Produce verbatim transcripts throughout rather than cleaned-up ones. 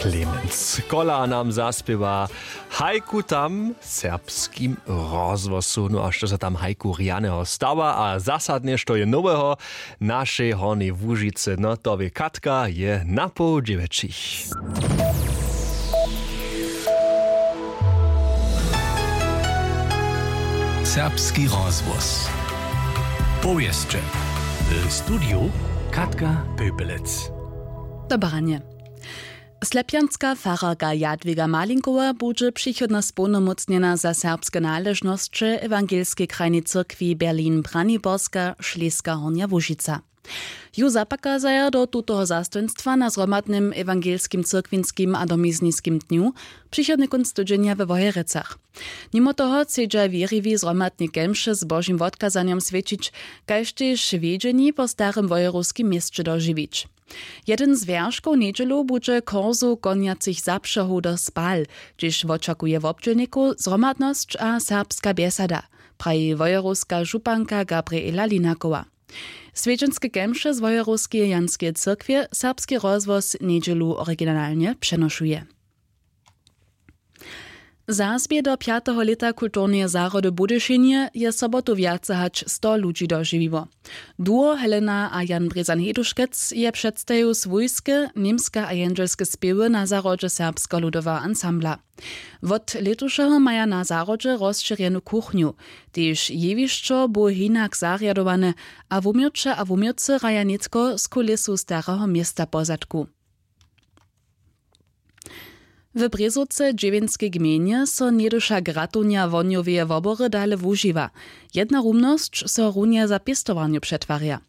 Clemens Kola nam zaspěwa haiku tam w serbskim rozhłosu. No a što so tam haiku rjaneho stawa a zasadnje što je noweho w našej Hornjej Łužicy, no to wě Katka, je na poł dźewjećich. Serbski rozhłos. Powěsće. W studiju Katka Pepelec. Dobranje. Slepjanska fararka Jadwiga Malinkowa budźe přichodnje społnomócnjena za serbske naležnosće w Ewangelskej krajnej cyrkwi Berlin-Braniborska, Šleska Hornja Łužica. Ju zapakazaja do tutoho zastojnstwa na zhromadnym ewangelskim cyrkwinskim a domizniskim dnju přichodny kónc tydźenja we Wojerecach. Nimo toho chcedźa wěriwi zhromadne kemše z Božim wotkazanjom swjećić, kaž tež wjedźeni po starym wojerowskim měsće dožiwić. Jedyn z wjerškow njedźelu budźe korzow konjacych zapřehow do Spal, hdźež wočakuje wobdźělnikow zhromadnosć a serbska bjesada, praji wojerowska županka Gabriela Linakowa. Swjedźenske kemše z wojerowskeje Janskeje cyrkwje serbski rozhłos njedźelu originalnje přenošuje. Zazbě do pjateho lěta kulturneje zahrody w Budyšinje je sobotu wjace hač sto ludźi dožiwiło. Duo Helena a Jan Brězan Heduškec je předstajił swójske, němske a jendźelske spěwy na zahrodźe Serbskeho ludoweho ansambla. Wot lětušeho maja na zahrodźe rozšěrjenu kuchnju. Tež jewišćo bu hinak zarjadowane a wuměłće a wuměłcy hraja nětko z kulisu Stareho města pozadku. W Brězowce w Dźěwjenskej gmejnje so njeduša gratownja wohnjoweje wobory dale wužiwa. Jedna rumnosć so runje za pěstowarnju přetwarja.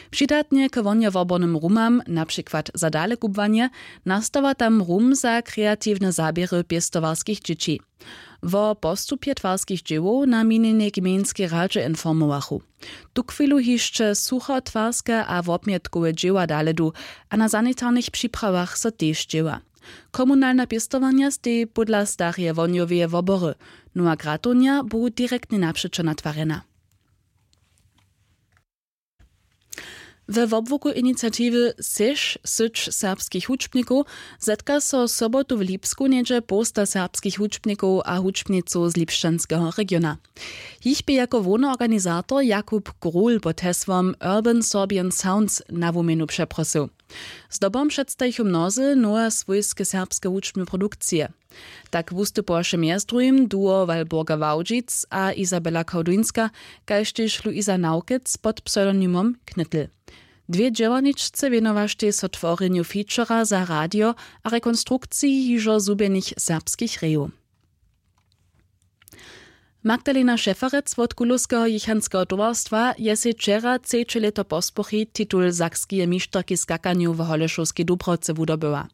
Přidatnje k wohnjowobornym rumam, na přikład za dalekubłanje, nastawa tam rum za kreatiwne zaběry pěstowarskich dźěći. Wo postupje twarskich dźěłow na minjenej gmejnskej radźe informowachu. Tuchwilu hišće suchotwarske a wobmjetkowe dźěła dale du, a na sanitarnych připravach so tež dźěła. Komunalne pěstowanja steji pódla stareje wohnjoweje wobory. Nowa gratownja bu direktnje napřećo natwarjena. We wobłuku iniciatiwy Seš, syć serbskich hudźbnikow zetka so sobotu w Lipsku něhdźe połsta serbskich hudźbnikow a hudźbnicow z lipšćanskeho regiona. Jich bě jako hłowny organizator Jakub Grul pod hesłom Urban Sorbian Sounds na wuměnu přeprosył. Zdobom předstajichu mnozy nowe swójske serbske hudźbne produkcije. Tak wustupowaše mjez druhim duo Walburga Wałdźic a Izabela Kałduńska, kaž tež Luisa Nawkec pod pseudonymom Knytl. Dwě dźěłarničce wěnowaštej so tworjenju featura za radio a rekonstrukciji hižo zhubjenych serbskich rejow. Magdalena Šeferec wot Kulowskeho jěchanskeho towarstwa je sej wčera třeće lěto pospóri titul sakskeje mišterki w skakanju w Holešowskej Dubrawce wudobyła.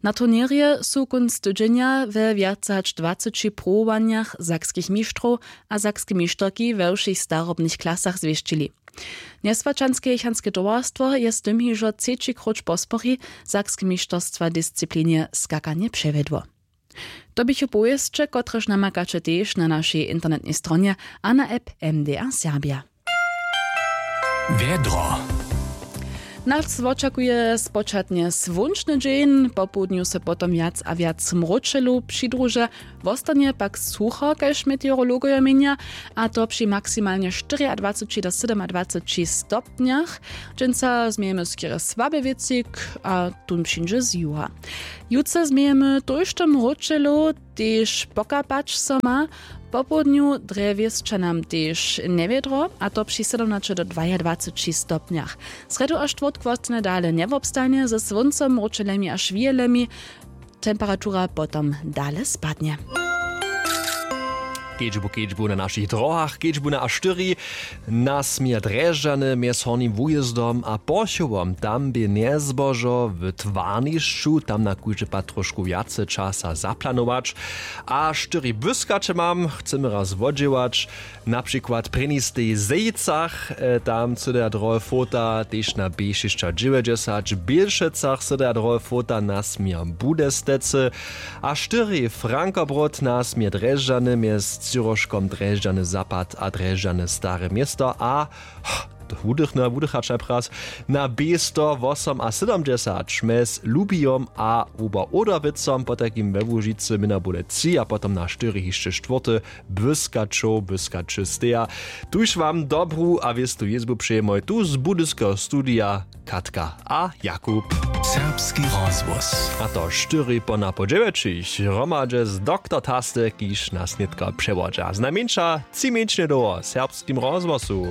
Na turněrje su kónc tydźenja we wjace hač dwaceći pruwowanjach sakskich mištrow a sakske mišterki we wšěch starobnych klasach zwěsćili. Njeswaćanske jěchanske towarstwo je z tym hižo třeći króć pospóri sakske mišterstwa w disciplinje skakanje přewjedło. To běchu powěsće, kotrež namakaće tež na našej internetnej stronje a na app M D R Serbja. Wjedro. Nas wočakuje spočatnje słónčny dźeń, popołdnju so potom wjac a wjac mróčelu přidruže, wostanje pak sucho, kaž meteorologojo měnja, a to při maksimalnje štyriadwaceći do sydomadwaceći stopnjach. Dźensa změjemy skerje słaby wětřik a tón přińdźe z juga. Jutře změjemy tójšto mróčelu, tež pokapać so ma. Popołdnju drje wěsća nam tež njewjedro, a to při sydomnaće do dwajadwaceći stopnjach. Srjedu a štwórtk wostanje dale njewobstajnje ze słóncom, mróčelemi a šwihelemi. Temperatura potom dale spadnje. Kedźbu kedźbu na našich drohach, kedźbu na A štyri, na směr Drježdźany mjez Hornim Wujězdom a Porchowom, tam bě njezbožo w twarnišću, tam na kóždy pad trošku wjace časa zaplanować. A štyri błyskaće mam, chcemy raz wodźěłać, na přikład prěni stej w Zejcach, e, tam cyda drohe fota, tež na B šěsćadźewjećdźesat w Bělšecach cyda drohe fota na směr Budestecy, a štyri Frankobrod na směr Drježdźany mjez Ciroškom Drježdźany Zapad a Drježdźany Stare Město a wudychny a wudychać najpraz, na běsto wosom a sydomdźesać mjez lubijom a wuba oderwicom potajkim we łužicy měna bóle tři a potom na štyri hišće štwórty. Błyskaćow błyskaće steja. Tuž wam dobru a wěstu jězbu přejemoj tu z budyskeho studija, katka a jakub. Serbski rozhłos. A to štyri pona po dźewjećich hromadźe z doktor taste kiž nas nětko přewodźa znajmjeńša tři mjeńšinje dołho w serbskim rozhłosu.